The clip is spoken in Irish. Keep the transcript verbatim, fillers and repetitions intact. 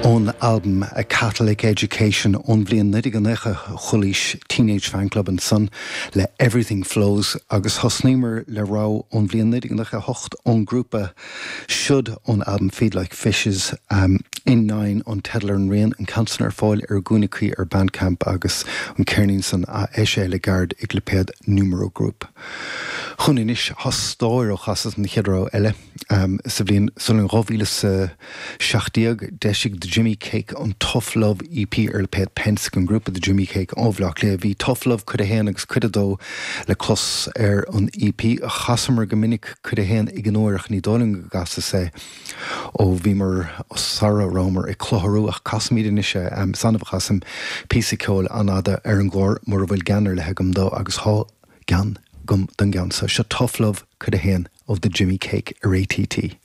Ón albam A Catholic Education ón bhliain naoi déag nócha chualaís Teenage Fanclub ansan le Everything Flows agus thosnaíomar le rogha ón bhliain naoi déag nócha hocht ón grúpa Should ón albam Feed Like Fishes um, in Nine an teideal ar an rian an ceann san ar fáil ar gcúinne cuí ar Bandcamp agus an ceirnín san a eisíodh le gairid ag lipéad Numero Group. Chun anois thostóir ó chasas an chéad rogha eile um, sa bhliain san dhá mhíle sa seacht déag d'eisigh The Jimmy Cake an Tough Love EP ar lipéad Pensk an grúpa The Jimmy Cake ó Bhaile Átha Cliath. Bhí Tough Love cuid a haon agus cuid a dó le clos ar an EP a chasamar go minic cuid a haon ag an uair ach ní dóigh liom go gcasas é ó bhíomar sara rabhamar ag clárú ach casaimid anois é um, is annamh a chasaim píosa ceoil an-fhada ar an gclár mura bhfuil gean ar leith agam dó agus tá gean agam don gceann seo seo Tough Love cuid a haon ó The Jimmy Cake ar ATT.